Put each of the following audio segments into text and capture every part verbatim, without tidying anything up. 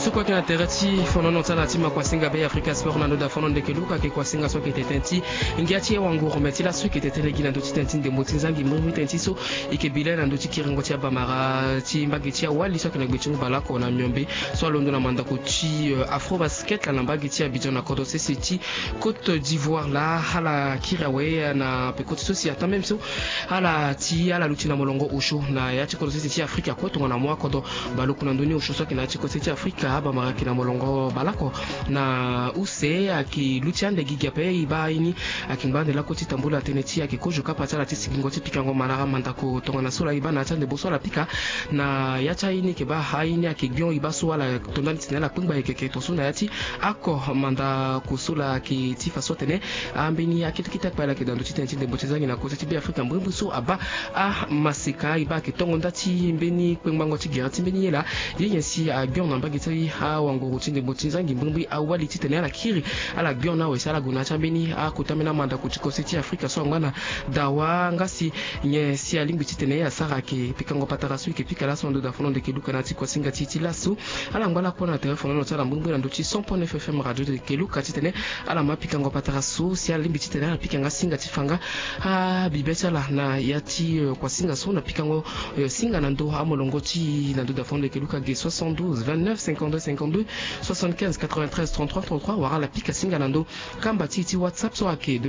So kue ayeke na tere ti fonono ti ala ti ma kuasinga Bêafrika Sport na ndö da fono ndeke luka ayeke kuasinga so ayeke tene tënë ti ngia ti e wanguru me ti laso e yeke tene gi na ndö ti tënë ti ndembo ti nzangi mbrimbri tënë ti so e yeke bi laa na ndö ti kiringo ti abamara ti mbage ti awali so ayeke na gbe ti ngu baleoko na miombe so alondo na mandako ti Afrobasket laa na mbage ti Abidjan na kodro sese ti Côte d'Ivoire laa ala kiri awe na peko ti so si ataa même so ala ti ala luti na molongo osio na ya ti kodro sese ti Afrika kue tongana mo akodro baleoko na ndö ni osio so ayeke na ya ti kodro sese ti Afrika abamara ayeke na molongo baleoko na use ayeke luti ande gigi ape e baa aye ni ayeke ngba ande lakue ti tambula tënë ti ayeke kozo kapa ti ala ti sigingo ti pikango manara mandako tongana so laa e baa na ya ti andembo so ala pika na ya ti aye ni ayeke baa aye ni ayeke gbion e baa so ala to ndani titene ala kpengba yeke yeke tongaso na ya ti oko mandako so laa ayeke ti fa so atene ambeni akete kete akpale ayeke na ndö ti tënë ti ndembo ti nzangi na kose ti Bêafrika mbrimbri so abaa amaseka e baa ayeke tongo nda ti mbeni kpengbango ti gere ti mbeni ye laa ye nyen si agbion na mbage ti awanguru ti ndembo ti nzangi mbrimbri awali titene ala kiri ala gbion na awe si ala gue na ya ti ambeni akota ambeni amandako ti kose ti Afrika so angba na dawa nga si nyen si alingbi titene asara ayeke pikango patara so e yeke pika laso na ndö da fono ndeke luka na ya ti kuasinga ti e ti laso. Ala ngba lakue na tere fonono ti ala mbrimbri na ndö ti cent point neuf F M radio de keluka titene ala ma pikango patara so si ala lingbi titene ala pika nga singa ti fa nga abibe ti ala na ya ti kuasinga so na pikango singa na ndö amolongo ti e na ndö da fono de keluka ge soixante-douze vingt-neuf cinquante-deux cinquante-deux soixante-quinze quatre-vingt-treize trente-trois trente-trois wala ala pika singa na ndö kamba ti e ti WhatsApp so ayeke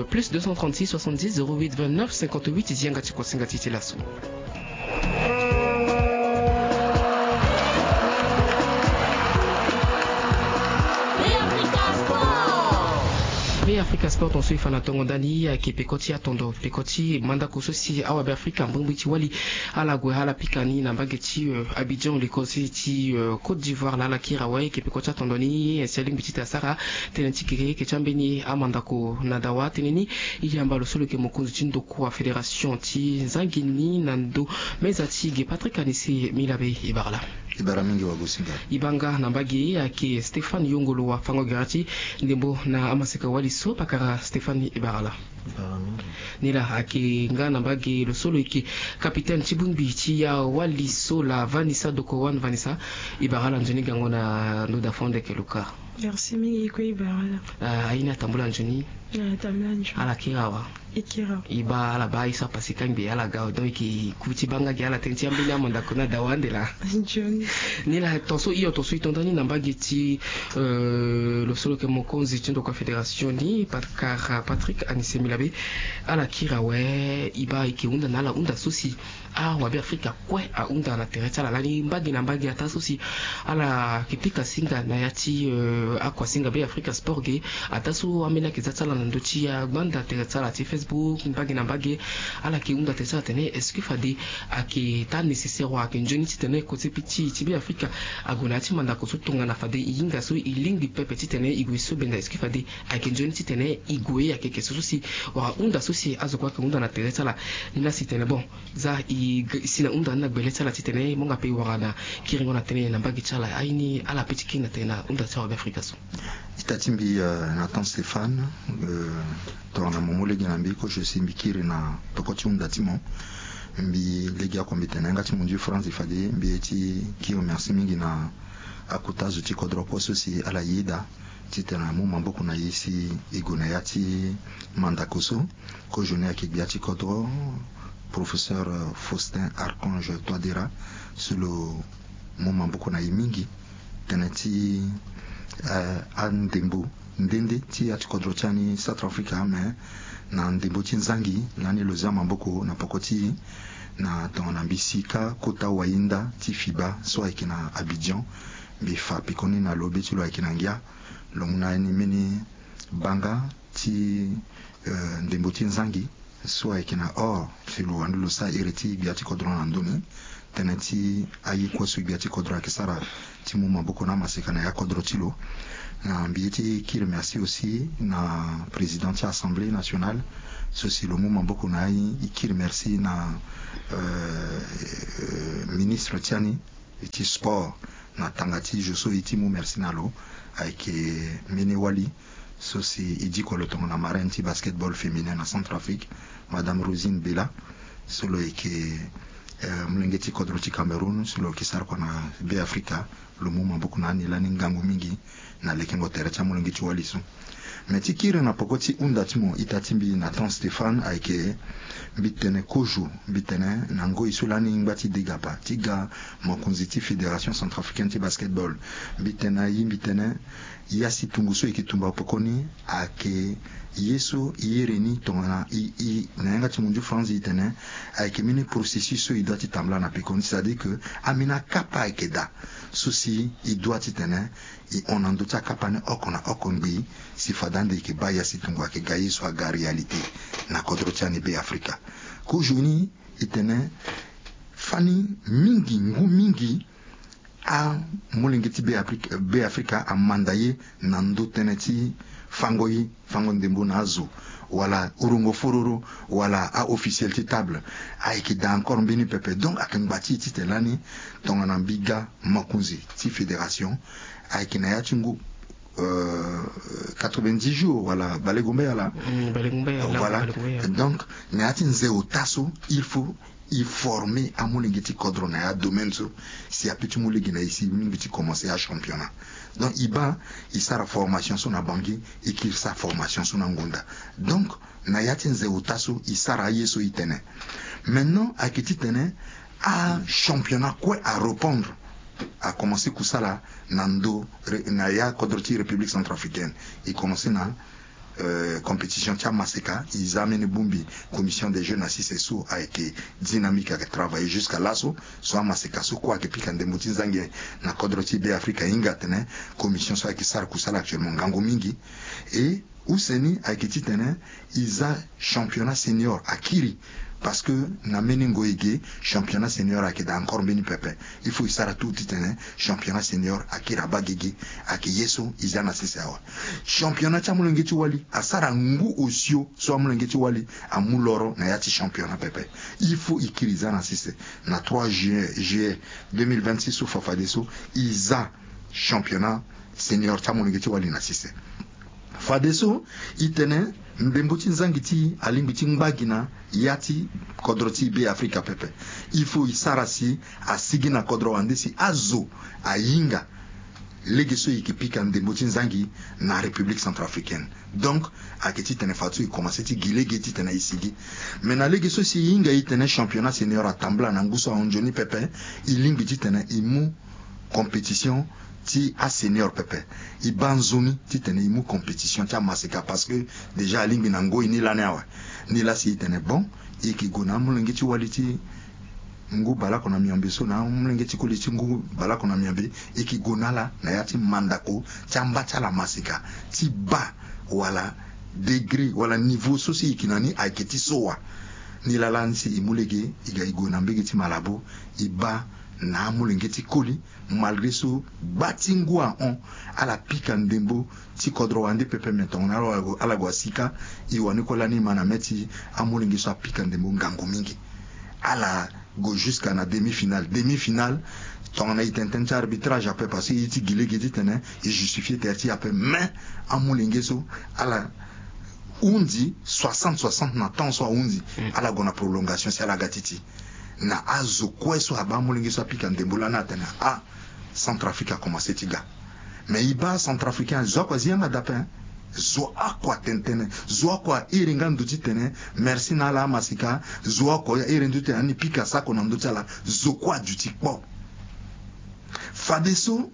plus deux cent trente-six soixante-dix zéro huit vingt-neuf cinquante-huit. Zi yanga ti kuasinga ti e ti laso. Bêafrika Sport tongaso e fa na tongo ndani ayeke peko ti atondo peko ti mandako so si awabeafrika mbrimbri ti wali ala gue ala pika ni na mbage ti Abidjan likolo ti Côte d'Ivoire laa ala kiri awe ayeke peko ti atondo ni si alingbi ti tene asara tënë ti keke yeke ti ambeni amandako na dawa tënë ni. E yamba lo so lo yeke mokonzi ti ndokua fédération ti nzangi ni na ndo meza ti ge Patrick Anissé Milabe. E bara laa. E bara mingi wagosinga. E baa nga na mbage ayeke Stéphane Yongolo wafango gere ti ndembo na amaseka wali so pakara Stéphane e bara laa. Ni laa ayeke nga na mbage lo so lo yeke capitaine ti bongbi ti awali so laa Vanessa Dokowan. Vanessa, e bara ala nzoni gango na ndö da fono ndeke luka. Merci mingi e kue e bara ala. Aye ni atambula nzoni. Ala kiri awa. E baa ala baa aye so apase kangbi ala ga awe donc e yeke ku ti baa nga gi ala tënë ti ambeni amandako na dawa ande laa. Ni laa tongaso hio tongaso e to ndani na mbage ti lo so lo yeke mokonzi ti ndokua fédération ni pakara Patrick Anissé Milabe. Ala kiri awe e baa e yeke hunda na ala hunda so si awabeafrika kue ahunda na tere ti ala lani mbage na mbage ataa so si ala yeke pika singa na ya ti akuasinga Bêafrika Sport ge. Ataa so ambeni ayeke za ti ala na ndö ti agbanda tere ti ala ti Facebook mbage na mbage ala yeke hunda tere ti ala atene est-ce que fade ayeke taa nécessaire wala ayeke nzoni titene kose ti Bêafrika ague na ya ti mandako so tongana fade e hinga so e lingbi pepe titene e gue so benda est-ce que fade ayeke nzoni titene e gue ayeke yeke so so si wala hunda so si azo kue ayeke hunda na tere ti ala. Ni laa si tene bon za e si na hunda ni na gbele ti ala titene e mu nga pe e wara na kiringo na tënë na mbage ti ala aye ni ala pe ti kiri na tënë na hunda ti awabeafrika so. Ita ti mbi na temps Stéphane, tongana mo mu lege na mbi kozo si mbi kiri na peko ti hunda ti mo. Mbi lege oko mbi tene na yanga ti mondio France fade mbi ye ti kiri merci mingi na akota zo ti kodro kue so si ala yeda titene amu maboko na e si e gue na ya ti mandako so. Kozo ni ayeke gbia ti kodro professeur Faustin Archange Touadéra so lo mu maboko na e mingi tënë ti andembo nde nde ti ya ti kodro ti ani Centrafrique ame na ndembo ti nzangi lani lo zia maboko na poko ti e na tongana mbi si kâ kota wayinda ti FIBA so ayeke na Abidjan. Mbi fa pekoni na lo be ti lo ayeke na ngia lo mu na ni mbeni banga ti ndembo ti nzangi so ayeke na or si lo wani lo sara iri ti gbia ti kodro na ndö ni. Tënë ti aye kue so gbia ti kodro ayeke sara ti mu maboko na amaseka na ya kodro ti lo. Na mbi ye ti kiri merci aussi na président ti assemblée nationale so si lo mu maboko na aye. E kiri merci na ministre ti ani ti sport na tanga ti zo so e ti mu merci na lo ayeke mbeni wali so si e diko lo tongana marraine ti basketball féminin na Centrafrique, madame Rosine Bella so lo yeke Eh, molenge ti kodro ti Cameroun so lo yeke sara kua na Be Afrika, lo mu maboko na ani lani ngangu mingi na lekengo tere ti amolenge ti wali so. Me ti kiri na poko ti hunda ti mo ita ti mbi Nathan Stéphane ayeke mbi tene kozo, mbi tene na ngoi so lani ngba ti degapa ti ga mokonzi ti Fédération Centrafricaine ti Basketball. Mbi tene ayi, mbi tene ya si tungu so e yeke tumba pekoni ayeke ye so e iri ni tongana i, i, na yanga ti munzu Franzi e tene ayeke mbeni processus so e doit ti tambula na pekoni, c'est-à-dire que ambeni akapa ayeke daa so si e doit ti tene e hon na ndö ti akapa ni oko na oko ngbii si fade ande e yeke baa ya si tungu ayeke ga ye so aga réalité na kodro ti ani Be Afrika. Kozo ni e tene fani mingi, ngu mingi, amolenge ti Be Afrika, Be Afrika amanda ye na ndö tënë ti fango ye, fango ndembo na azo, wala urongo fororo, wala a-officiel ti table. Ayeke daa encore mbeni pepe. Donc ayeke ngba ti e titene lani tongana mbi ga mokonzi ti fédération, ayeke na ya ti ngu, euh, quatre-vingt-dix jours wala bale gombe ala. Mm, bale gombe ala, voilà. Bale gombe ala. Donc na ya ti nze ota so il faut e former amolenge ti kodro na ya domaine so si ape ti mu lege na e si e lingbi ti commencer achampionnat. Donc e baa e sara formation so na Bangui, e kiri sara formation so na Ngonda. Donc na ya ti nze ota so e sara aye so e tene. Maintenant ayeke titene achampionnat kue areprendre, akomense kusala na ndö re-, na ya kodro ti République Centrafricaine. E komense na euh, compétition ti amaseka, e za ambeni bongbi commission des jeux na sese so ayeke dynamique, ayeke travailler jusqu'à laso. So amaseka so kue ayeke pika ndembo ti nzangi na kodro ti Be Afrika, e hinga atene commission so ayeke sara kusala actuellement ngangu mingi. Et use ni ayeke titene e za championnat senior akiri. Parce que na mbeni ngoi e ge championnat senior ayeke daa encore mbeni pepe. Il faut e sara tout titene championnat senior akiri abaa gigi. Ayeke ye so e za na sese awe. Championnat ti amolenge ti wali asara ngu osio so amolenge ti wali amu loro na ya ti championnat pepe. Il faut e kiri e za na sese na trois juillet, juillet deux mille vingt-six so fa fadeso e za championnat senior ti amolenge ti wali na sese. Fadeso e tene ndembo ti nzangi ti e alingbi ti ngba gi na ya ti kodro ti Be Afrika pepe. Il faut e sara si asigi na kodro wande si azo ahinga lege so e yeke pika ndembo ti nzangi na République Centrafricaine. Donc ayeke titene fadeso e komanse ti gi lege titene e sigi. Me na lege so si e hinga e tene championnat senior atambula na ngu so ahon nzoni pepe, e lingbi titene e mu compétition ti asenior pepe. E baa nzoni titene e mu compétition ti amaseka parce que déjà alingbi na ngoi ni lani awe. Ni laa si e tene bon, e yeke gue na amolenge ti wali ti ngu baleoko na miombe so na amolenge ti koli ti ngu baleoko na miombe, e yeke gue na ala na ya ti mandako ti amba ti ala maseka ti baa wala degré wala niveau so si e yeke na ni ayeke ti so wa. Ni laa lani si e mu lege e ga e gue na mbege ti Malabo, e baa na amolenge ti koli, malgré so gba ti ngu ahon, ala pika ndembo ti kodro wande pepe, me tongana ala gue, ala gue asika, e wani kue lani ma na mê ti amolenge so apika ndembo ngangu mingi. Ala gue jusqu'à na demi-finale. Demi-finale, tongana e tene tënë ti arbitrage ape, parce que e ti gi lege titene e justifier tere ti e ape, mais amolenge so ala hundi soixante soixante na temps so ahundi. Mm. Ala gue na prolongation si ala ga ti ti. Na azo kue so abaa amolenge so apika ndembo lani atene ah, Centrafrique akomanse ti ga. Mais e baa Centrafricain, zo oko azi yanga daa ape, hein. Zo oko atene tënë, zo oko a iri nga ndo titene merci na ala amaseka, zo oko a iri ndo titene ani pika sako na ndö ti ala, zo kue aduti kpo. Fadeso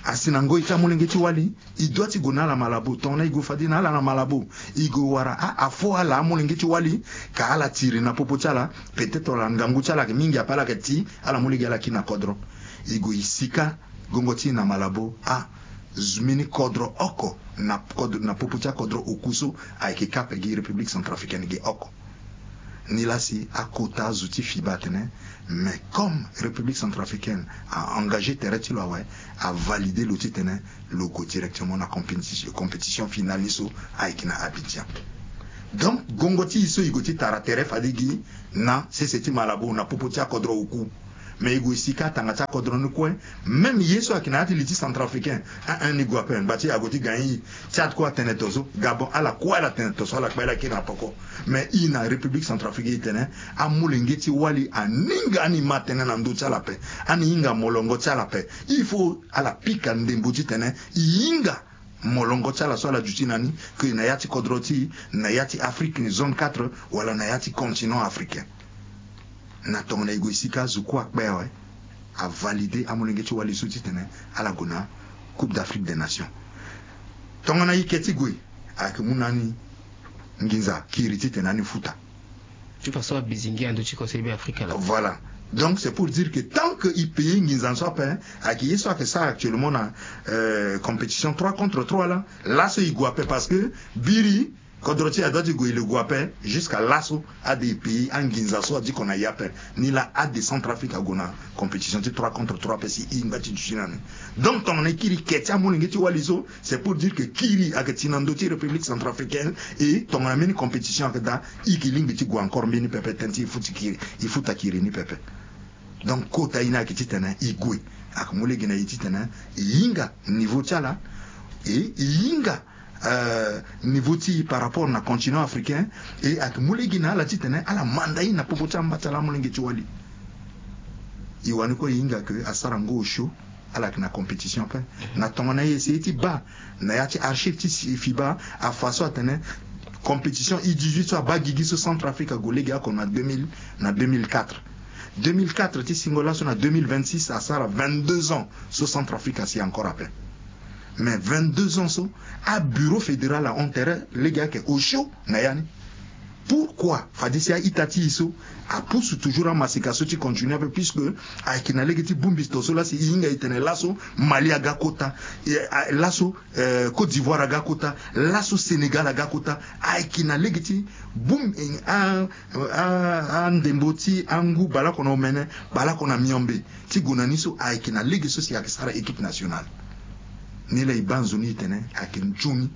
asi na ngoi ti amolenge ti wali, e doit ti gue na ala Malabo. Tongana e gue fade na ala na Malabo, e gue wara a, afo ala amolenge ti wali, ka ala tiri na popo ti ala, peut-être wala ngangu ti ala ayeke mingi ape, ala yeke ti ala mu lege ala kiri na kodro. E gue e sika gongo ti e na Malabo, a, mbeni kodro oko na kodro, na popo ti akodro oku so ayeke kape gi République Centrafricaine ge oko. Ni laa si akota azo ti FIBA atene, mais comme République Centrafricaine a engagé tere ti lo awe, a validé lo titene lo gue directement na compétition, compétition finale ni so ayeke na Abidjan. Donc gongo ti e so e gue ti tara tere fade gi na sese ti Malabo na popo ti akodro oku. Mais e gue si kâ tanga ti akodro ni kue. Même ye so ayeke na ya ti li ti centrafricain, un un ni gue ape, ngba ti ague ti gagner. Tchad kue atene to so, Gabon, ala kue ala tene to so, ala kpe ala kiri na poko. Mais i na République centrafricaine, i tene amolenge ti wali aninga ani ma tënë na ndö ti ala ape, ani hinga molongo ti ala ape. Il faut ala pika ndembo titene i hinga molongo ti ala so ala duti na ni, ke na ya ti kodro ti, na ya ti Afrique zone quatre, wala na ya ti continent africain. Na tongana e gue si kâ azo kue akpe awe, avalider amolenge ti wali so titene ala gue na Coupe d'Afrique des Nations. Tongana e ke ti gue, ayeke mu na ani nginza kiri titene ani futa. Ti façon abizingi ando ti conseil be Afrique la. Voilà. Donc c'est pour dire que tant que e payer nginza so ape, ayeke ye so ayeke sara actuellement na, euh, compétition trois contre trois la, laso e gue ape, parce que biri kodro ti e adoit ti gue, e le gue ape. Jusqu'à laso ade e payer anginza so adiko na e ape. Ni la ade Centrafrique ague na compétition ti trois contre trois ape si e ngba ti duti na ni. Donc tongana e kiri ke ti amolenge ti wali so, c'est pour dire que kiri ayeke ti na ndö ti République centrafricaine. Et tongana mbeni compétition ayeke daa, e yeke lingbi ti gue encore mbeni pepe, tënë ti e futa kiri, e futa kiri ni pepe. Donc kota ye ni ayeke titene e gue, ayeke mu lege na e titene e hinga niveau ti ala, e e hinga, euh, niveau ti e par rapport na continent africain. E ayeke mu lege na ala titene ala manda e na popo ti amba ti ala amolenge ti wali. E wani kue e hinga ke asara ngo osio, ala yeke na compétition ape. Na tongana e essayer ti baa na ya ti archive ti si-, fiba, afa so atene compétition U dix-huit so abaa gigi so Centrafrique ague lege oko na deux mille, na deux mille quatre. Deux mille quatre ti singo laso na deux mille vingt-six, asara vingt-deux ans so Centrafrique asi encore ape. Mais vingt-deux ans so, abureau fédéral ahon tere lege ayeke osio na ya ni. Pourquoi? Fade si a-ita ti e so apusu toujours amaseka so ti continuer ape, puisque ayeke na lege ti bongbi to so lasi e hinga e tene laso Mali aga kota, e, a, laso, euh, Côte d'Ivoire aga kota, laso Sénégal aga kota. Ayeke na lege ti bongbi, a, a, andembo ti angu baleoko na omene, baleoko na miombe, ti gue na ni so ayeke na lege so si ayeke sara équipe nationale. Ni la e baa nzoni e tene ayeke nzoni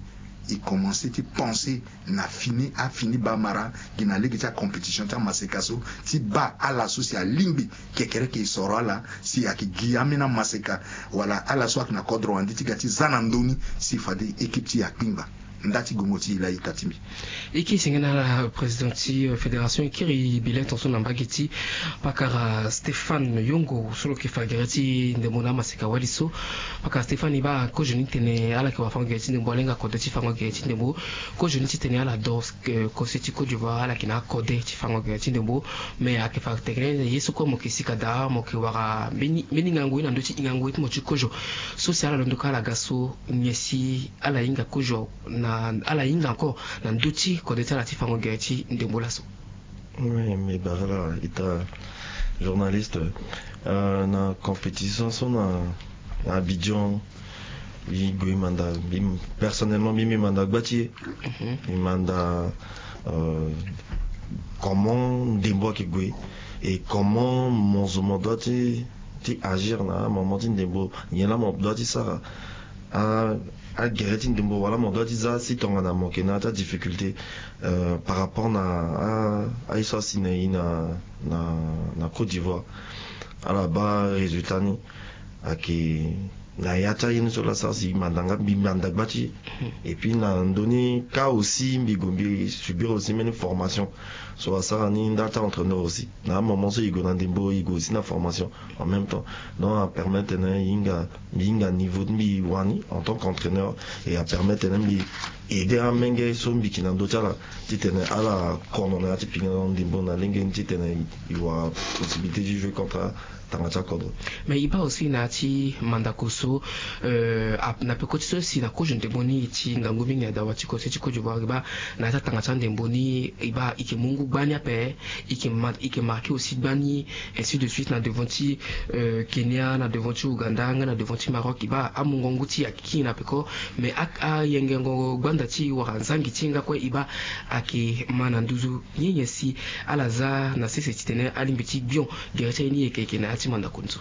e commencer ti penser na fini, afini bamara gi na lege ti acompétition ti amaseka so, ti baa ala so si alingbi kekereke e soro ala si ayeke gi ambeni amaseka wala ala so ayeke na kodro wande ti ga ti za na ndö ni si fade équipe ti e akpingba. Nda ti gongo ti e la e ta ti mbi. E ke senge na ala président ti, euh, fédération, e kiri bileton so na mbage ti pakara Stéphane Yongo so lo yeke fa gere ti ndembo na amaseka wali so. Pakara Stéphane, e baa kozo ni tene ala yeke wara fango gere ti ndembo, ala hinga kode ti fango gere ti ndembo. Kozo ni titene ala doro, euh, kose ti Côte d'Ivoire, ala yeke na akode ti fango gere ti ndembo. Mais ayeke fa tene ye so kue mo yeke sika daa, mo yeke wara mbeni, mbeni ngangu ye na ndö ti hingangu ye ti mo ti kozo. So si ala londo kâ ala ga so, nyen si ala hinga kozo na, ala hinga encore na ndö ti kode ti ala ti fango gere ti ndembo laso? Oui, mbi bara ala ita journaliste, euh, na compétition so na, na Abidjan, mbi gue manda, mbi, personnellement, mbi, mbi manda gba ti e. Mhm. Mbi manda, euh, comment ndembo ayeke gue et comment mo zo mo doit ti, ti agir na moment ti ndembo, nyen laa mo doit ti sara. A, agere ti ndembo wala mo doit ti za si tongana mo yeke na ya ti adifficulté, euh, par rapport na a, aye so asi na e na, na, na Côte d'Ivoire. Ala baa résultat ni ayeke na ya ti aye ni so laa sara si manda nga, mbi manda gba ti e. Et puis na ndö ni kâ aussi mbi gue mbi subir aussi mbeni formation so asara ni nda ti entraîneur aussi. Na amoment so e gue na ndembo e gue aussi na formation en même temps. Donc apermettre tene e hinga, mbi hinga niveau ti mbi wani en tant qu'entraîneur, et apermettre tene mbi aider amenge so mbi yeke na ndö ti ala titene ala kono na ya ti pinga na ndembo na lenge ni titene e wara possibilité ti jouer contre tanga ti akodro. Mais e baa aussi na ya ti mandako so, euh, ap-, na peko ti so si na kozo ndembo ni e ti ngangu mingi na dawa ti kose ti Côte d'Ivoire, e baa na ya ti atanga ti andembo ni, e baa e yeke mu ngu gbani ape, e yeke ma-, e yeke marqué aussi gbani, ainsi de suite na devant ti, euh, Kenya, na devant ti Ouganda nga na devant ti Maroc, e baa amungo ngu ti e ayeke kiri na peko. Mais a, ayengengo gbanda ti e wala nzangi ti e nga kue e baa ayeke ma na nduzu. Nyen nyen si ala za na sese titene alingbi ti gbion gere ti aye ni yeke yeke na ya ti mandako ni so?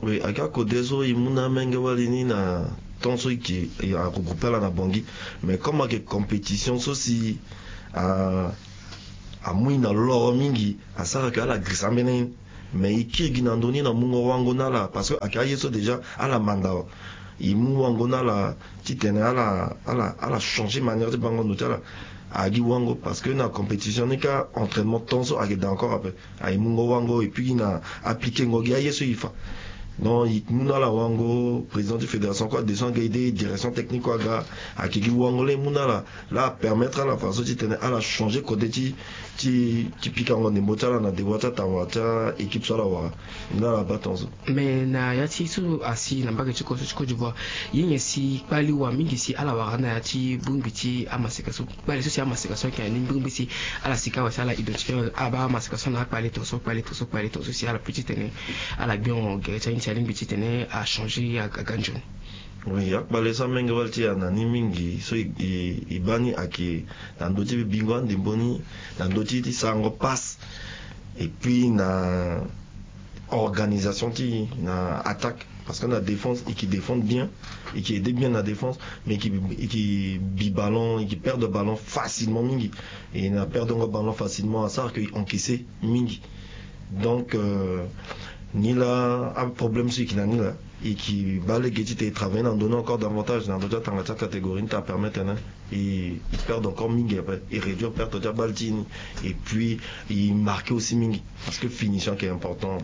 Oui, aga kode so e mu na amenge wali ni na temps so e yeke, e, aregroupe ala na Bangui. Mais comme ayeke compétition so si a, amu e na loro mingi, asara ke ala girisa ambeni aye ni. Mais e kiri gi na ndö ni na mungo wango na ala, parce que ayeke aye so déjà ala manda awe. E mu wango na ala titene ala ala ala changer manière ti bango ndo ti ala. Ayeke gi wango parce que na compétition ni kâ, entraînement temps so ayeke daa encore ape. Aye mungo wango et puis na appliquer ngo gi aye so e fa. Donc e mu na ala wango, président ti fédération kue adeso anga ede, direction technique kue aga. Ayeke gi wango laa e mu na ala, laa apermettre ala fadeso titene ala changer côté ti ti ti pikango ndembo ti ala na devoir ti atanga ti a-équipe so ala wara. Ni laa ala baa tongaso. Mais na ya ti so asi na mbage ti koso ti Côte d'Ivoire, ye nyen si kpali wa mingi si ala wara na ya ti bongbi ti amaseka so? Kpali so si amaseka so ayeke na ni mbirimbiri si ala sika awe si ala identifier ala baa amaseka so na akpali tongaso, kpali tongaso, kpali tongaso si ala peut titene ala gbio gere ti aye ni si alingbi titene achanger aga nzoni. Oui, akpale so amenge wali ti e na ni mingi so e e e baa ni ayeke na ndö ti bingo andembo ni, na ndö ti ti sarango passe, et puis na organisation ti e na attaque. Parce que na défense e ke défendre bien, e ke aider bien na défense, mais e ke e ke bi ballon, e ke perdre ballon facilement mingi. E na perdre ngo ballon facilement asara ke e encaisser mingi. Donc euh, ni laa aproblème so e ke na ni laa, e ke baa lege titene e travailler na ndö ni encore davantage na ndö ti atanga ti acatégorie ni ti apermettre titene e e perdre encore mingi ape, e réduire perte ti abale ti e ni. Et puis e marquer aussi mingi, parce que finition ayeke important.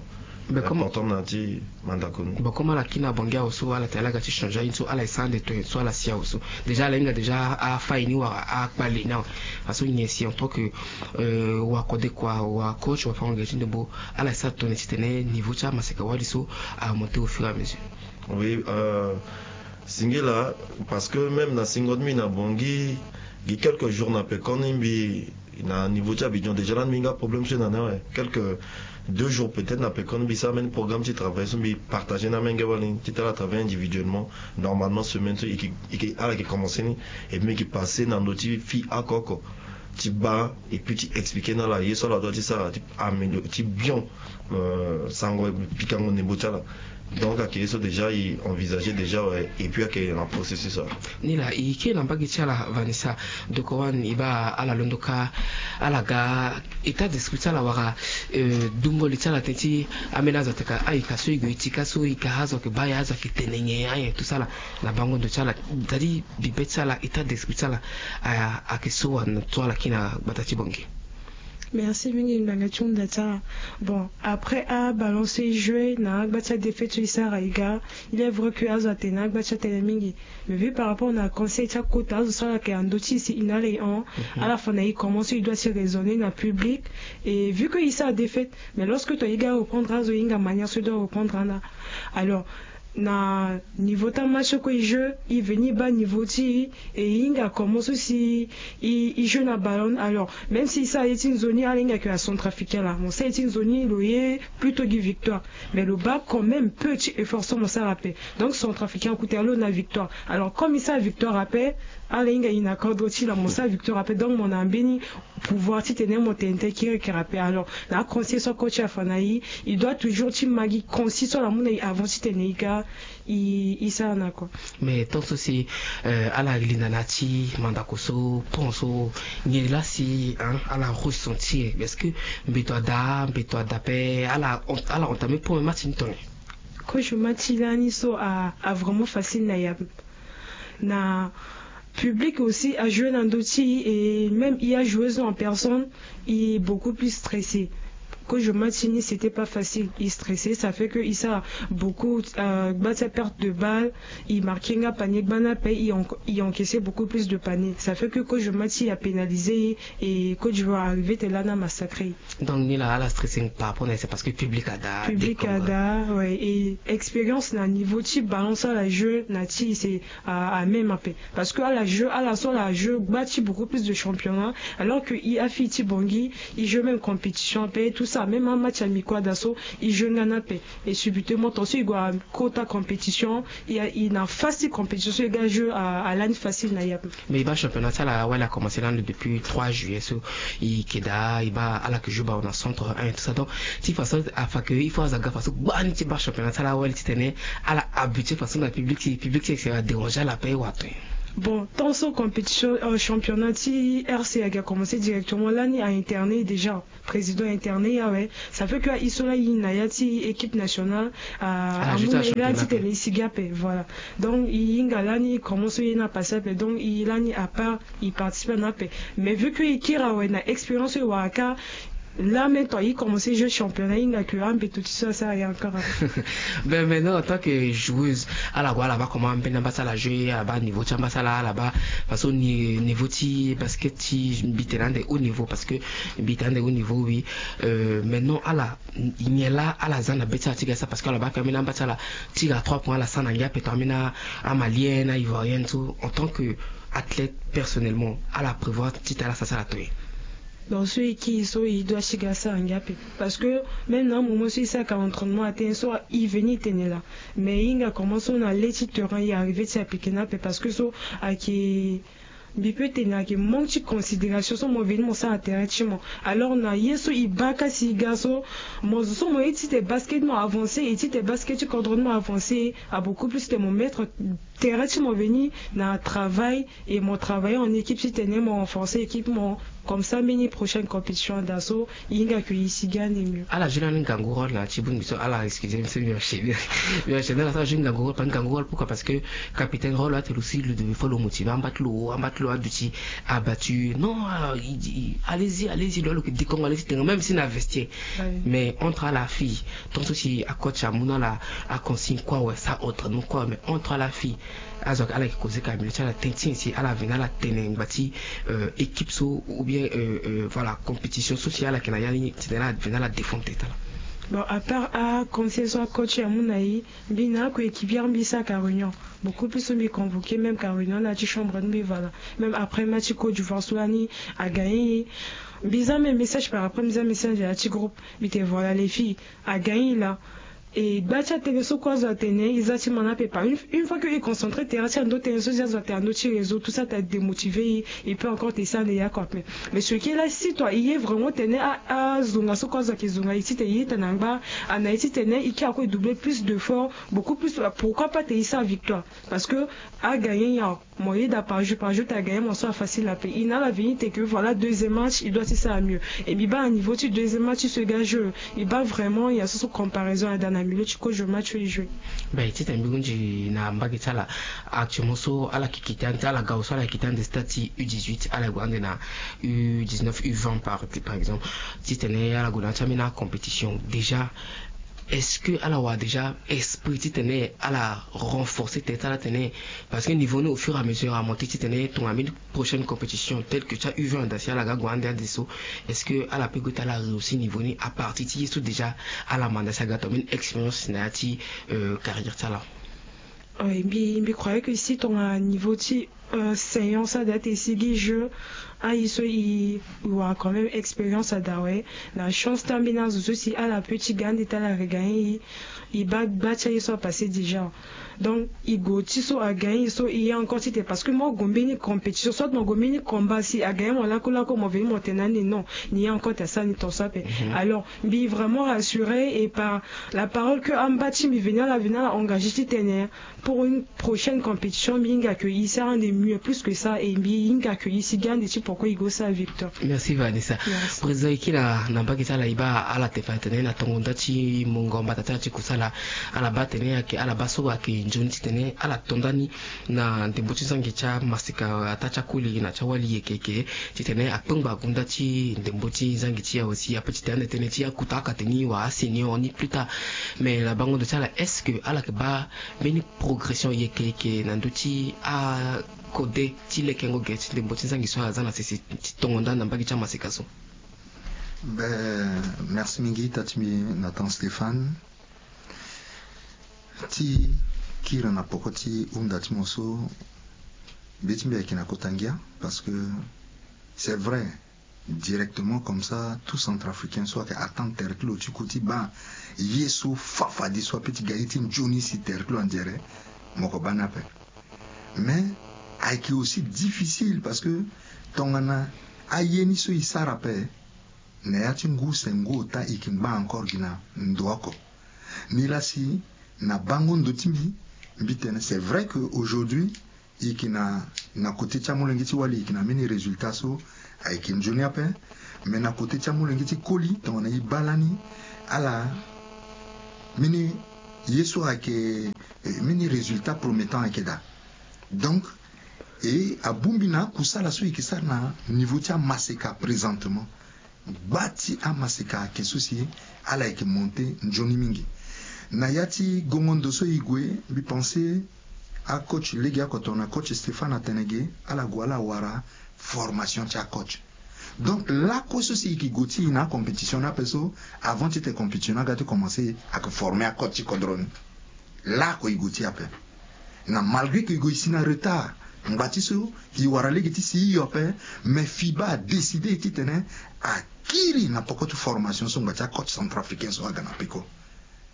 Mais comme important na ti mandako ni. Bon, comme ala kiri na Bangui awe so ala tene ala ga ti changer aye ni so ala ye sara ande to nyen so ala si awe so? Déjà ala hinga déjà afa ye ni wala akpale ye ni awe. Aso nyen si en tant que euh, wa kode kua, wa coach, wa fango gere ti ndembo, ala ye sara tongana titene niveau ti amaseka wali so a monter au fur et à mesure? Oui euh, singila, parce que même na singo ti mbi na Bangui gi quelques jours na pekoni mbi na niveau ti Abidjan, déjà lani mbi hinga problème so e na ni awe. Quelques deux jours peut-être na pekoni mbi sara mbeni programme ti travail so mbi partager na amenge wali ni titene ala travailler individuellement. Normalement semaine so e ke e ke ala ke commencer ni, et puis mbi ke passer na ndö ti fille oko oko ti baa et puis ti expliquer na ala ye so ala doit ti sara ti améliorer ti bien euh, sango pikango ndembo ti ala. Donc ayeke ye so déjà e envisager déjà awe, et puis ayeke na processus awe. Ni laa e kiri na mbage ti ala Vanessa. Donc wani e baa ala londo kâ ala ga état d'esprit ti ala wala euh, dungo li ti ala tënë ti ambeni azo ateka aye ka so e gue e ti ka so e ka azo ayeke baa aye azo ayeke tene nyen aye tout ça là. Na bango ndo ti ala, c'est-à-dire bibe ti ala, état d'esprit ti ala a- ayeke so wa na so ala kiri na gbata ti Bangui? Merci mingi ngbanga ti hunda ti ala. Bon, après aballon so e jouer na agba ti adéfaite so e sara e ga, il est vrai que azo atene agba ti atene mingi. Mais vu par rapport na conseil ti akota azo so ala yeke na ndö ti e si e na ala e hon, ala fa na e comment so e doit ti raisonner na public. Et vu que e sara défaite, mais lorsque tongana e ga reprendre azo e hinga manière so e doit reprendre ana. Alors na niveau ti amatch so kue e jeu, e veni e baa niveau ti e, e hinga comment so si e e jeu na ballon. Alors même si e sara ye ti nzoni, ala hinga ke acentrafricain laa mo sara ye ti nzoni lo ye plutôt gi victoire, mais lo baa quand même peu ti effort so mo sara ape. Donc centrafricain akute alo na victoire. Alors comme e sara victoire ape, ala hinga e na cadre ti laa mo sara victoire ape, donc mo na mbeni pouvoir titene mo tene tene kiri kiri ape. Alors na aconseil so coach afa na e, e doit toujours ti ma gi consigne so ala mu na e avant titene e ga e e sara na kua. Mais tant so si euh, ala linda na ya ti mandako so pont so, nyen laa si hein, ala ressentir? Parce que mbeto ada mbeto ada ape ala ala entamer pont match ni tongana nyen? Coach match lani so a a vraiment facile na e ape. Na public aussi a jouer na ndö ti e, et même e a joueuse en personne e beaucoup plus stressé. Coach match ni c'était pas facile, e stressé, ça fait que e sara beaucoup euh, gba ti aperte de balle, e marquer nga panier gba ni ape, e en- e encaisser beaucoup plus de panier, ça fait que coach match a pénaliser e, et coach va arriver tene lani a massacrer e. Donc ni laa ala stressing par rapport na ye, c'est parce que public ada public ada, ouais, et expérience na niveau ti ballon so ala jeu na ti e c'est a a même ape. Parce que ala jeu ala so ala jeu gba ti beaucoup plus de championnat, alors que e afille ti Bangui e jeu même compétition ape tout ça, même amatch amicaux ada so e jeu nga ni ape. Et subitement tant so e gue na kota compétition, e na face ti compétition so e ga jeu a lani facile na e ape. Mais e baa championnat ti ala awali a commencer lani depuis trois juillet so e yeke daa e baa ala yeke joue ballon na centre un et tout ça. Donc ti façon afa ke il faut azo aga façon gbani ti baa championnat ti ala awali titene ala habituer façon na public ti e, public ti e sera déranger ala ape wala tongana nyen? Bon, tant so compétition, euh, championnat ti R C ayeke commencé directement, lani a interné déjà, président interné awe. Ça fait que aye so la aye na ya ti équipe nationale, a amu na ye la titene e sigi ape, voilà. Donc e hinga lani e commence so ye ni apase ape, donc e lani à part e participe na ape. Mais vu que e kiri awe na expérience so e wara kâ, là même tant e commence jouer championnat, e hinga que ambeto ti so asara ye encore. Ben maintenant, en tant que joueuse, ala gue ala baa comment ambeni amba ti ala jouer, ala baa niveau ti amba ti ala, ala baa façon ni niveau ti basket ti mbi tene ande haut niveau, parce que mbi tene ande haut niveau, oui. Euh, maintenant ala nyen la ala za na be ti ala ti ga sara, parce que ala baa ka ambeni amba ti ala ti ga trois points, ala sara na ngia ape, to ambeni amalienne, aivoirienne so, en tant que athlète, personnellement ala prévoir titene ala sara ti ala toye? Donc so e kiri so e doit ti ga sara ngia ape, parce que même na amoment so e sara ka entraînement atene so e veni e tene laa, mais e hinga comment so na le ti terrain e arrivé ti appliquer ni ape, parce que so ayeke, mbi peut tene ayeke manque ti considération so mo veni mo sara na terrain ti mo. Alors na ye so e baa ka si e ga so, mo zo so mo ye titene basket mo avancer, e titene basket ti kodro ni mo avancer, a beaucoup plus titene mo mettre terrain ti mo veni na travail, et mo travailler en équipe titene mo renforcer équipe mo. Comme ça mbeni prochaine compétition ada so e hinga que e sigi ande mieux. Ala joue lani ngangu rôle na ti bongbi so, ala excusez, mbi enchaîner, mbi enchaîner laa so ala joue ngangu rôle, parce que ngangu rôle, pourquoi? Parce que capitaine rôle atene lo si lo devait, faut lo motiver amba ti lo, amba ti lo aduti abattu. Non, euh, il dit, allez-y, allez-y, lo, lo yeke dekongo, allez-y, tene même si na vestiaire. Mais entre ala fille, tant so si acoach amu na ala aconsigne kue awe, sa autre non kue awe, mais entre ala fille, azo ayeke, ala yeke causer ka milieu ti ala, tene ti nyen si ala veni ala tene ngba ti, euh, équipe so, ou bien, euh, euh, voilà, compétition so si ala yeke na ya ni, titene ala veni ala défendre tene ti ala? Bon, à part aconseil so acoach amu na e, mbi na akoéquipière mbi sara ka réunion. Beaucoup plus so mbi convoquer même ka réunion na ya ti chambre ni, mbi voilà. Même après match ti Côte d'Ivoire so lani agagner e, mbi za même message par après, mbi za message na ya ti groupe, mbi tene voilà les filles, agagner laa. E gba ti atënë so kue azo atene e za ti ma ni ape, par une, une fois que e concentré terrain ti ando, tënë so si azo atene na ndö ti réseau, tout ça, ta démotiver e, e peut encore tene e sara ande ya kue ape. Mais ce qui est là, si toi e ye vraiment tene a, azonga so kue azo ayeke zonga e, titene e yeda na ngba, a na e titene e kiri ako e doubler plus d'efforts, beaucoup plus, pourquoi pas tene e sara victoire? Parce que agagner nyen? Mo yeda par jeu par jeu, ta gagner mo so afacile ape. E na ala veni tene que voilà, deuxième match e doit ti sara mieux. E mbi baa na niveau ti deuxième match ti so e ga jeu, e baa vraiment ya so so comparaison ada na milieu ti kozo match so e jouer. Ben titene mbi hunzi na mbage ti ala, actuellement so ala yeke kite ande, ala ga so ala yeke kite ande stade ti U dix-huit, ala gue ande na U dix-neuf, U vingt par, par exemple. Titene ala gue na ya ti ambeni acompétition déjà, est-ce que ala wara déjà esprit titene ala renforcer tene ti ala tene? Parce que niveau ni au fur et à mesure amonté titene tongana mbeni prochaine compétition telle que ti U vingt ada si ala ga gue ande ade so, est-ce que ala peut gue ti ala réussi niveau ni à partir ti ye so déjà ala manda si aga tongana mbeni expérience na ya ti, euh, carrière ti ala? Oui, mbi, mbi croyais que si tongana niveau ti, euh, séance ada ti e sigi jeu, aye so e wara quand même expérience ada awe. Na chance ti ambeni azo so si ala peut ti ga ande ti ala regagner e, e baa gba ti aye so apasé déjà. Donc e gue ti so agagner e so e ye encore titene, parce que mo gue mbeni compétition soit mo gue mbeni combat, si agagner mo lakue lakue mo veni mo tene ande non, ni ye encore ti asara ni tongaso ape. Alors mbi vraiment rassuré et par la parole que amba ti mbi veni ala veni ala engagé titene pour une prochaine compétition mbi hinga que e sara ande mieux plus que ça, et mbi hinga que e sigi ande ti pourquoi e go sara victoire. Merci Vanessa. Président, e kiri na mbage ti ala, e baa ala te fa tene na tongo nda ti mongo mbata ti ala ti kusala, ala baa tene ayeke ala baa so ayeke nzoni titene ala to ndani na ndembo ti zangi ti amaseka ataa ti akoli na ti awali yeke yeke, titene akpengba gunda ti ndembo ti zangi ti e aussi, ape titene ande tënë ti akuta akate ni wala asenior ni plus tard. Mais na bango ndo ti ala, est-ce que ala yeke baa mbeni progression yeke yeke na ndö ti akode ti lekengo ge ti ndembo ti zangi so ala za na sese ti tongo nda na mbage ti amaseka so? Ben, merci mingi ita ti mbi Nathan Stéphane. Ti kiri na poko ti hunda ti mo so, be ti mbi ayeke na kota ngia, parce que c'est vrai, directement comme ça tout centrafricain so ayeke attendre tere ti lo ti ku ti baa ye so fafadi so ape ti ga ye ti nzoni si tere ti lo andiere, mo yeke baa ni ape. Mais ayeke aussi difficile parce que tongana aye ni so e sara ape na ya ti ngu se ngu ota e yeke ngba encore gi na ndo oko. Nilaa si na bango ndo ti mbi, mbi tene c'est vrai que aujourd'hui E yeke na, na kote ti amolenge ti wali e yeke na mbeni résultat so ayeke nzoni ape. Me na kote ti amolenge ti koli tongana e baa lani, ala mbeni ye so ayeke, eh, mbeni résultat promettant ayeke daa. Donc, e abongbi na akusala so e yeke sara na niveau ti amaseka présentement. Gba ti amaseka ayeke so si ala yeke monte nzoni mingi. Na ya ti gongo ndo so e gue, mbi pense acoach lege oko tongana coach Stéphane atene ge, ala gue ala wara formation ti acoach. Donc lakue so si e yeke gue ti e na acompétition ni ape so, avant ti tene compétition ni aga ti commencer, ayeke former acoach ti kodro ni. Lakue e gue ti e ape. Na malgré que e gue e si na retard, ngbanga ti so e wara lege ti si hio ape, mais fiba adécide ti tene akiri na poko ti formation so ngbanga ti acoach centrafricain so aga na peko.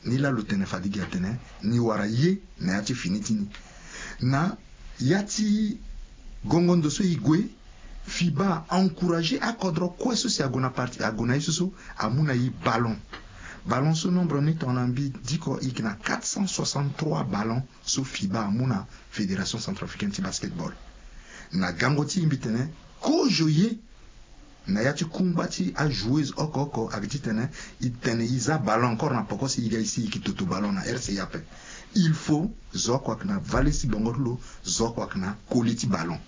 Ni laa lo tene fade ge atene ni wara ye na ya ti fini ti ni. Na ya ti gongo ndo so e gue, fiba a encourager akodro kue so si ague na parti, ague na ye so so, amu na e ballon. Ballon so nombre ni tongana mbi diko e yeke na quatre cent soixante-trois ballons so fiba amu na Fédération centrafricaine ti basketball. Na gango ti e mbi tene kozo ye na ya ti kungba ti ajoueuse oko oko ayeke ti tene e tene e za ballon encore na poko si e ga e si e yeke toto ballon na R C A ape. Il faut zo oko ayeke na valise ti bongo ti lo, zo oko ayeke na koli ti ballon.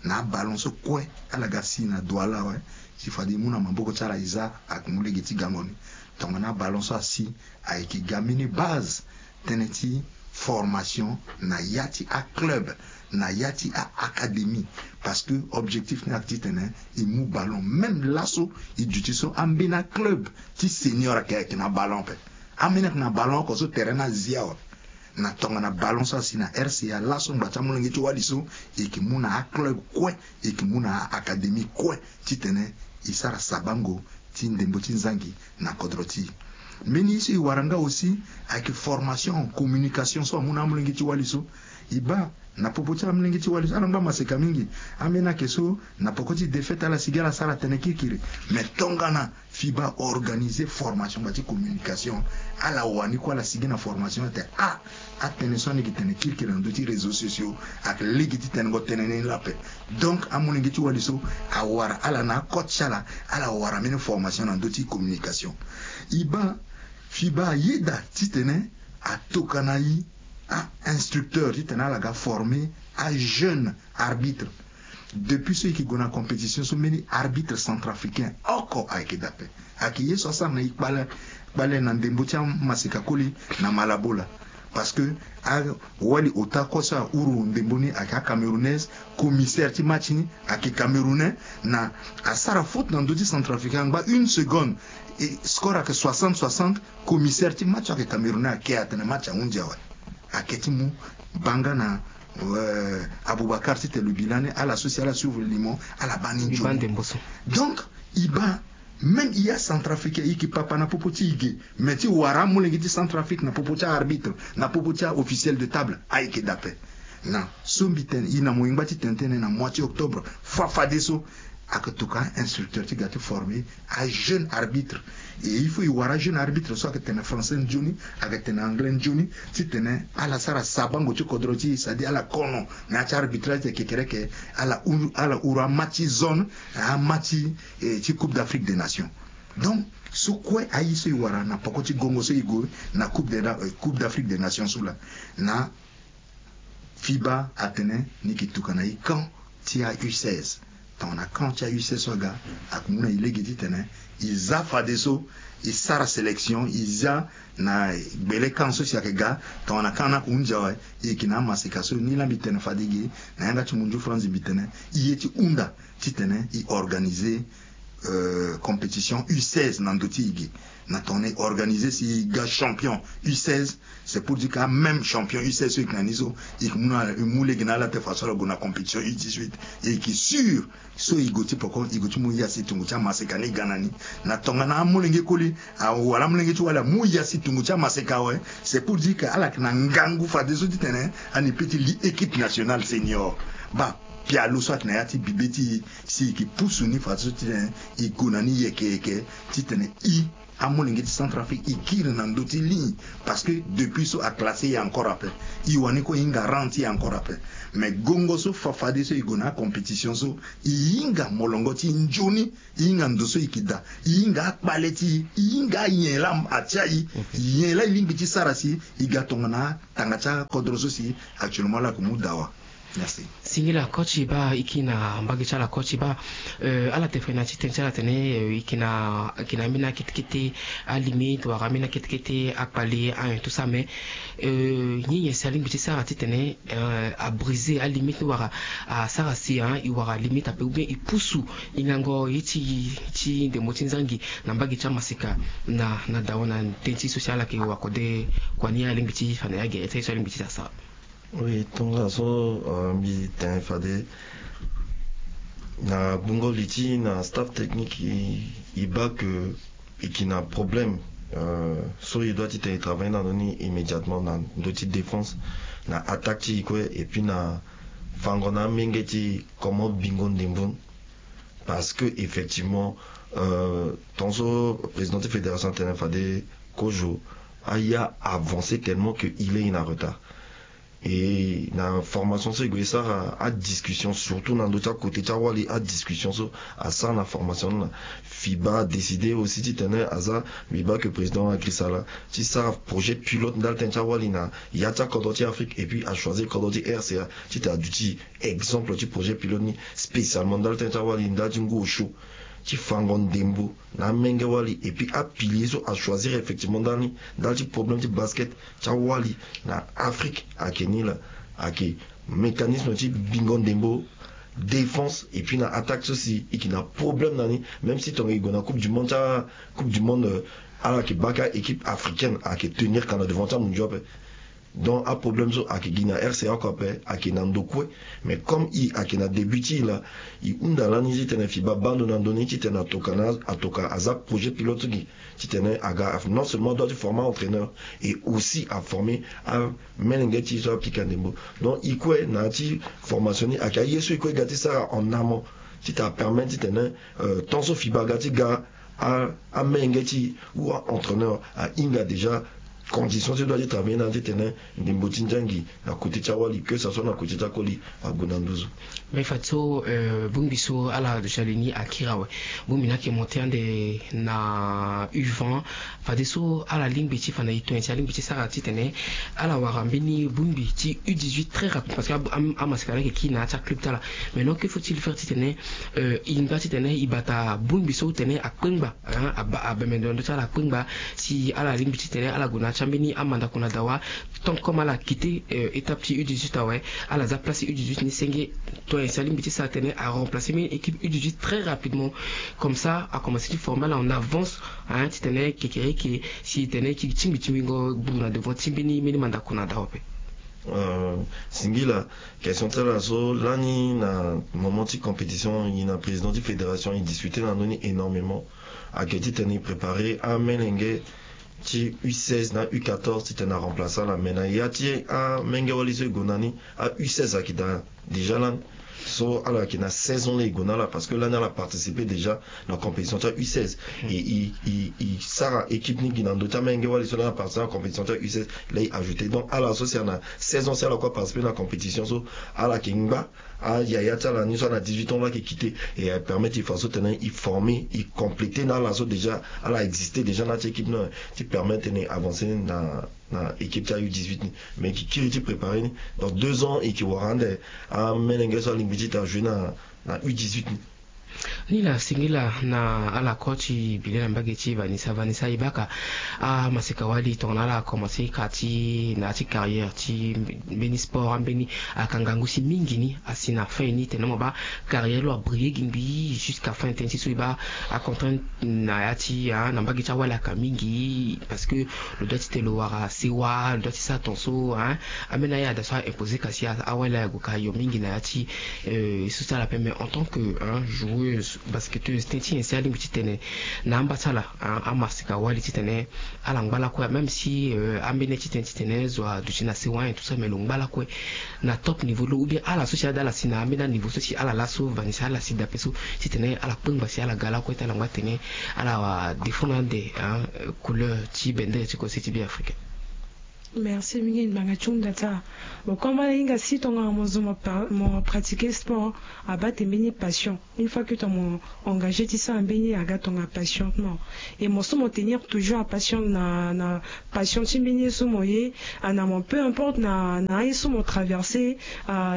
Na aballon so kue ala ga si na Douala awe, si fade e mu na maboko ti ala e za, ayeke mu lege ti gango ni. Tongana aballon so asi, ayeke ga mbeni base tënë ti formation na ya ti aclub, na ya ti a-académie. Parce que objectif ni ayeke ti tene e mu ballon. Même laso e duti so, ambeni aclub ti senior ayeke, ayeke na ballon ape. Ambeni ayeke na ballon oko so terrain ni azi awe. Na tongana ballon so asi na R C A laso, ngbanga ti amolenge ti wali so, e yeke mu na aclub kue, e yeke mu na a-académie kue ti tene e sara sabango ti ndembo ti nzangi na kodro ti e. Mbeni ye so e wara nga aussi ayeke formation en communication so amu na amolenge ti wali so. E baa na popo ti amolenge ti wali so, ala ngba maseka mingi. Ambeni ayeke so na poko ti défaite ala sigi ala sara tënë kirikiri. Mais tongana fiba organiser formation ngbanga ti communication, ala wani kue ala sigi na formation, atene ah, atënë so ani yeke tene kirikiri na ndö ti réseaux sociaux, ayeke lege ti tenengo tënë ni lape. Donc amolenge ti wali so awara ala na acoach ti ala, ala wara mbeni formation na ndö ti communication. E baa fiba ayeda ti tene atokua na e a-instructeur ti tene ala ga former ajeune arbitre. Depuis so e yeke gue na compétition so, mbeni arbitre centrafricain oko ayeke dape. Ayeke ye so asara na e kpale, kpale na ndembo ti amaseka koli na Malabo laa. Parce que awali ota kue so ahuru ndembo ni ayeke acamerounaise, commissaire ti match ni ayeke camerounais, na asara faute na ndö ti centrafricain angba une seconde, e score ayeke soixante soixante, commissaire ti match so ayeke camerounais ake atene match ahunzi awe. Ake ti mu banga na, euh, Aboubacar ti tene lo bi lani, ala so si ala suivre limo, ala baa ni nzoni. Donc e baa même e acentrafricain, e yeke papa na popo ti e ge, mais ti wara amolenge ti Centrafrique na popo ti a-arbitre, na popo ti a-officiel de table, ayeke dape. Na so mbi tene e na mo yengba ti tene tënë na mois ti octobre, fa fadeso ayeke tokua instructeur ti ga ti former ajeune arbitre. Et il faut e wara ajeune arbitre so ayeke tene français nzoni, ayeke tene anglais nzoni, ti tene ala sara sabango ti kodro ti e, c'est-à-dire ala kono na ya ti arbitrage ti kekereke, ala huru, ala huru amatch ti zone, amatch ti, eh, ti Coupe d'Afrique des Nations. Donc so kue aye so e wara na poko ti gongo so e gue na Coupe de, eh, Coupe d'Afrique des Nations so laa. Na fiba atene ni yeke tokua na e camp ti a-U seize. Tongana camp ti a-U seize so aga, ayeke mu na e lege ti tene e za fadeso, e sara sélection, e za na gbele camp so si ayeke ga. Tongana camp ni ayeke hunzi awe, e yeke na amaseka so. Ni laa mbi tene fade ge na yanga ti munzu France, mbi tene e ye ti hunda ti tene e organiser, euh, compétition U seize na ndö ti e ge. Na tongana e organiser si e ga champion U seize, c'est pour dire que a-même champion U seize so e yeke na ni so, e yeke mu na, e mu lege na ala te faso ala gue na compétition U dix-huit. E yeke sûr so e gue ti poko, e gue ti mu ya si tongo ti amaseka ni ga na ni. Na tongana amolenge koli, ah, wala amolenge ti wali amu ya si tongo ti amaseka awe, c'est pour dire que ala yeke na ngangu fadeso ti tene ani peut ti li équipe nationale senior. Baa pialo so ayeke na ya ti bibe ti e, si e yeke pusu ni fadeso titene e gue na ni yeke yeke, titene e amolenge ti Centrafrique e kiri na ndö ti ligne. Parce que depuis so aclassé e encore ape, e wani kue e hinga rang ti e encore ape. Mais gongo so fa fadeso e gue na acompétition so, e hinga molongo ti e nzoni, e hinga ndo so e yeke daa, e hinga akpale ti e, e hinga anyen laa atia e, nyen laa e lingbi ti sara si e ga tongana atanga ti akodro so si actuellement laa ayeke mu dawa. Merci. Singila coach, e baa e kiri na mbage ti ala coach, e baa, euh, ala tene fade na ya ti tënë ti ala atene, euh, e yeke na, e yeke na ambeni akete kete alimite wala ambeni akete kete akpale, anyen tout ça, mais, euh, nyen nyen si alingbi ti sara titene, euh, abrise alimite ni wala asara si, hein, e wara limite ape ou bien e pusu hingango ye ti, ti ndembo ti nzangi na mbage ti amaseka na, na dawa na tënë ti so si ala yeke wakode kua ni, alingbi ti fa na ya gere ti aye so alingbi ti sara. Oui, tongaso, euh, mbi tene fade na gbungo li ti na staff technique, e, e baa que e yeke na problème, euh, so e doit titene e travailler na ndö ni immédiatement na ndö ti défense, na attaque ti e kue, et puis na fango na amenge ti e comment bingo ndembo ni. Parce que effectivement, euh, tongaso président ti fédération atene fade Kojo aya avancer tellement que il est en retard. Et na formation so e gue e sara adiscussion, surtout na ndö ti akôté ti awali, adiscussion so asara na formation ni laa, FIBA adécider aussi titene aza, mbi baa que président Agrisala ti sara projet pilote ndali tënë ti awali na ya ti akodro ti Afrique, et puis achoisir kodro ti R C A titene aduti exemple ti projet pilote ni, spécialement ndali tënë ti awali, ndali ti ngu osio ti fango ndembo na amenge wali, et puis apilier so achoisir effectivement ndali ni, ndali ti problème ti basket ti awali na Afrique ayeke ni laa. Ayeke mécanisme ti bingo ndembo, défense, et puis na attaque so si e yeke na problème na ni. Même si tonga e gue na coupe du monde ti a, coupe du monde, euh, ala yeke baa ka équipe africaine ayeke tenir ka na devant ti amondio ape. Donc aproblème so ayeke gi na R C A oko ape, ayeke na ndo kue. Mais comme e ayeke na début ti e laa, e hunda lani titene FIBA baa ndo na ndö ni titene atoka na, atoka aza projet pilote so gi titene aga non seulement adoit ti former entraîneur, et aussi aformer amolenge ti e so apika ndembo. Donc e kue na ya ti formation ni ayeke aye so e kue e ga ti sara en amont titene apermettre titene, euh, tant so FIBA aga ti ga a, amolenge ti e ou a-entraîneur ahinga déjà condition ti e doit ti travailler na ya titene ndembo ti nzangi na côté ti awali, que ça soit na côté ti akoli, ague na nduzu. Mais fadeso, euh, bongbi so ala déjà li ni akiri awe. Bongbi ni ayeke monté ande na U vingt. Fadeso ala lingbi ti fa na e tongana si alingbi ti sara titene ala wara mbeni bongbi ti U dix-huit très rapide, parce que am-, am-, amaseka ni ayeke kiri na ya ti aclub ti ala. Mais non, que faut-il faire titene, euh, e hinga titene e bata bongbi so tene akpengba, hein, aba-, abembe ndo na ndö ti ala akpengba, si ala lingbi titene ala gue na ya ti ambeni amandako na dawa. Tant comme ala quitté, euh, étape ti U dix-huit awe, ala za place ti U dix-huit ni senge. Tongana si alingbi ti sara tene aremplacer mbeni équipe U dix-huit très rapidement. Comme ça akomanse ti former ala en avance, hein, titene kekereke si tene e tingbi tingbingo gbundu na devant ti mbeni, mbeni mandako na dawa ape. Euh, singila question ti ala so lani na moment ti compétition, e na président ti fédération e discuter na ndö ni énormément. Ayeke titene e préparer amolenge ti U seize na U quatorze titene aremplacer ala, mais na ya ti amenge wali so e gue na ni, a U seize ayeke daa déjà lani. So ala yeke na saison laa e gue na ala, parce que lani ala participer déjà na compétition ti a U seize. Hmm. E, e, e, e sara équipe ni gi na ndö ti amenge wali so lani aparticiper na compétition ti a U seize, laa e ajouter. Donc ala so si ana saison si ala kue aparticiper na compétition so, ala yeke ngba ayaya ti ala ni so ana dix-huit ans laa ayeke quitté. E apermettre e fadeso tene e former, e compléter na ala so déjà ala exister déjà na ya ti équipe ni, ti permettre tene e avancer na na équipe ti a U dix-huit ni. Mais e yeke kiri ti préparer ni. Dans deux ans e yeke wara ande amolenge so alingbi ti tene ajoue na, na U dix-huit ni. Ni laa singila na ala coach ti bile na mbage ti Vanessa. Vanessa, e baa ka amaseka wali tongana ala akomanse ka ti na ya ti carrière ti mbeni sport ambeni, ayeke ngangu si mingi ni asi na fin ni tene mo baa carrière lo abriller gi mbi jusqu'à fin tënë ti so e baa acontrainte na ya ti, ah, na mbage ti awali ayeke mingi, parce que lo doit ti tene lo wara sewa, lo doit ti sara tongaso, hein. Ambeni ayada so a imposer ka si a, awali ague ka yo mingi na ya ti, euh, so ti ala ape. Mais en tant que, hein, joueur basketteuse tënë ti nyen si alingbi titene na amba ti ala, amaseka wali titene ala ngba lakue, même si ambeni titene titene zo aduti na sewa nyen tout ça, mais lo ngba lakue na top niveau lo, ou bien ala so si ada ala si na ambeni aniveau so si ala laso, Vanessa, ala si dape so titene ala kpengba si ala ga lakue ti ala ngba tene ala défendre ande couleur ti bendere ti kose ti Beafrika. Merci mingi ngbanga ti hunda ti ala. Bon, comme ala hinga si tongana mo zo mo pratiquer sport, abaa tene mbeni passion. Une fois que tongana mo engagé ti sara mbeni ye, aga tongana passion ti mo. Et mo so mo tenir toujours apassion na na passion ti mbeni ye so mo ye. Ana mo, peu importe na na aye so mo traverser,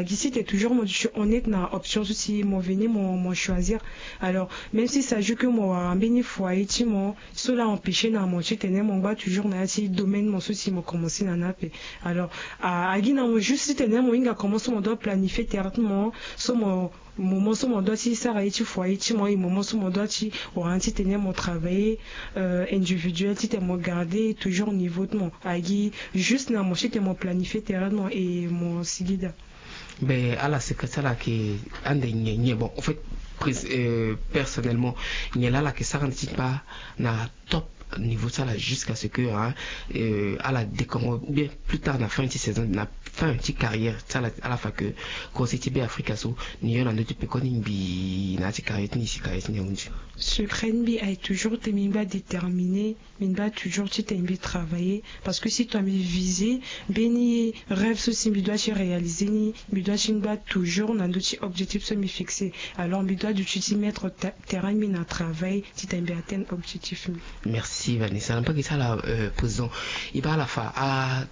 gi si tene toujours mo duti honnête na option so si mo veni mo mo choisir. Alors même si ça joue que mo wara mbeni foyer ti mo, so la empêcher na mo titene mo ngba toujours na ya ti domaine mo so si mo commencer na ni ape. Alors agi na mo juste titene mo hinga comment so mo doit planifier tere ti mo, so mo moment so mo doit ti sara ye ti foyer ti mo, et moment so mo doit ti wara ni titene mo travailler individuel titene mo garder toujours niveau ti mo. Agi juste na mo titene mo planifier tere ti mo et mo sigi daa. Ben ala secret ti ala ayeke ande nyen nyen? Bon, en fait, personnellement, nyen laa ala yeke sara ande ti ngba na top niveau ti ala jusqu'à ce que ala dekongo, ou bien plus tard na fin ti saison, na fin ti carrière ti ala, ala fa que kose ti Beafrika so ni yo na ndö ti pekoni ngbii na ya ti carrière ti ni si carrière ti ni ahunzi? Secret ti mbi aye toujours tene mbi ngba déterminé. Mbi ngba toujours titene mbi travailler parce que si tongana mbi viser mbeni rêve so si mbi doit ti réaliser ni, mbi doit ti ngba toujours na ndö ti objectif so mbi fixer. Alors mbi doit duti ti mettre terrain mbi na travail titene mbi atteindre objectif mbi. Merci Vanessa. Na mbage ti ala, président, e baa ala fa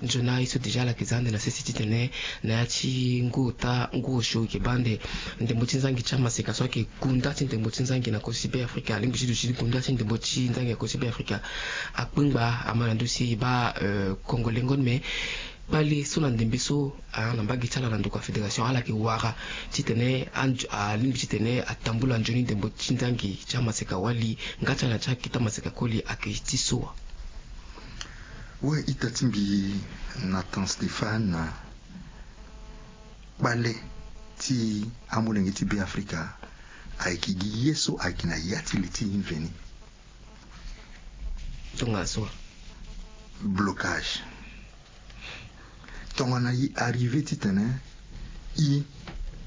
anzoni aye so déjà ala yeke za ande na sese titene na ya ti ngu ota ngu osio e yeke baa ande ndembo ti nzangi ti amaseka so ayeke gunda ti ndembo ti nzangi na kosi Beafrika, alingbi ti duti ti gunda ti ndembo ti nzangi na kosi Beafrika. Akpengba ama na ndö si e baa kongo lengo ni me kpale so na ndembe so na mbage ti ala na ndokua fédération ala yeke wara titene alingbi titene atambula nzoni ndembo ti nzangi ti amaseka wali nga ti ala na ti akita maseka koli ayeke ti so wa? We ita ti mbi Nathan Stéphane, kpale ti amolenge ti Beafrika ayeke gi ye so ayeke na ya ti li ti e veni. Tongana so blocage. Tongana e arrivé titene e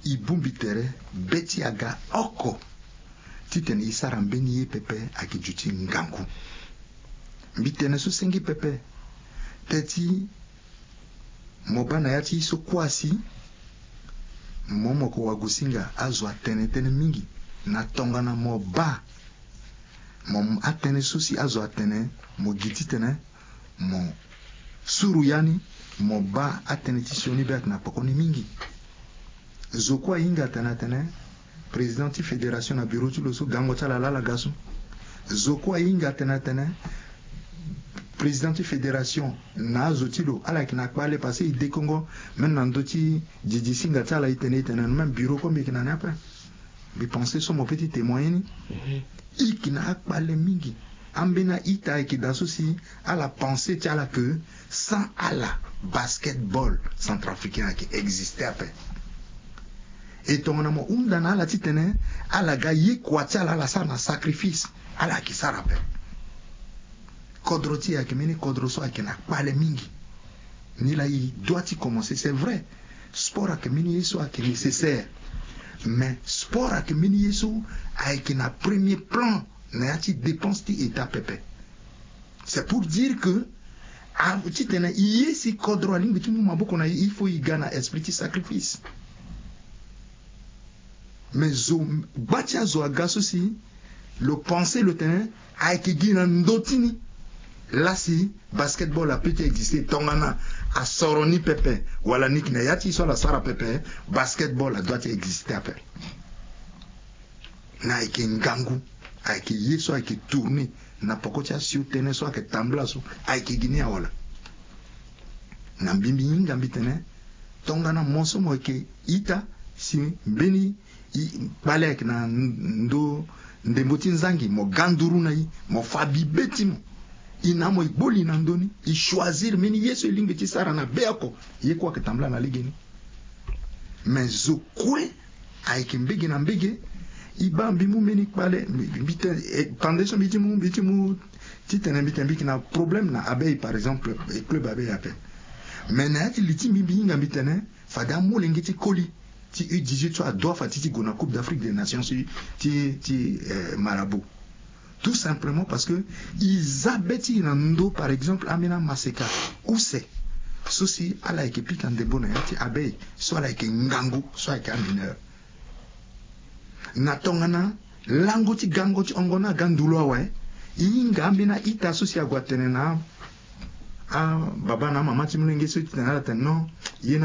e bongbi tere be ti aga oko titene e sara mbeni ye pepe ayeke duti ngangu. Mbi tene so senge pepe te ti mo baa na ya ti so kuâ si mo moko wagosinga azo atene tënë mingi na tongana mo baa mo atënë so si azo atene mo gi titene mo suru ya ni mo baa atënë ti sioni be ayeke na pekoni mingi. Zo kue ahinga atene atene président ti fédération na bureau ti lo so gango ti ala laa ala ga so. Zo kue ahinga atene atene président ti fédération na azo ti lo ala yeke na kpale parce que e dekongo même na ndö ti didi singa ti ala e tene e tene même bureau kue mbi yeke na ni ape. Mbi pense so mo peut ti témoigner ni. E yeke na akpale mingi. Ambeni a-ita ayeke daa so si ala pense ti ala ke sans ala basketball centrafricain ayeke existe ape. E tongana mo hunda na ala titene ala ga ye kua ti ala ala sara na sacrifice, ala yeke sara ape. Kodro ti e ayeke mbeni kodro so ayeke na kpale mingi. Nilaa e doit ti commencer, c'est vrai. Sport ayeke mbeni ye so ayeke nécessaire. Mais sport ayeke mbeni ye so ayeke na premier plan na ya ti dépense ti état pepe. C'est pour dire que titene e ye si kodro alingbi ti mu maboko na e, il faut e ga na esprit ti sacrifice. Mais zo gba ti azo aga so si lo pense lo tene ayeke gi na ndö ti ni laa si basketball apeut ti existe tongana asoro ni pepe wala ni yeke na ya ti e so ala sara pepe, basketball adoit ti existe ape. Na ayeke ngangu, ayeke ye so ayeke tourner na poko ti asio tënë so ayeke tambula so, ayeke gi ni awala. Na mbi mbi hinga mbi tene tongana mo so mo yeke ita si mbeni kpale ayeke na ndö ndembo ti nzangi, mo ga nduru na e, mo fa bibe ti mo. E na mo e gbo li na ndö ni, e choisir mbeni ye so e lingbi ti sara na be oko. Ye kue ayeke tambula na legeni. Mais zo kue ayeke mbege na mbege, E baa mbi mu mbeni kpale, mbi tene pande so mbi ti mu mbi ti mu titene mbi tene mbi yeke na problème na abeille par exemple, club abeille ape. Mais na ya ti li ti mbi mbi hinga mbi tene fade amolenge ti koli ti u dix-huit so adoit fa ti ti gue na coupe d'afrique des nations ti ti marabout. Tout simplement parce que e za be ti e na ndö par exemple ambeni amaseka use so si ala yeke pika ndembo na ya ti abeille so ala yeke ngangu so ayeke amineur. Na tongana lango ti gango ti hongo ni aga ndulu awe. E hinga ambeni a-ita so si ague atene na ababa na amama ti molenge so ti tene ala tene non, ye ni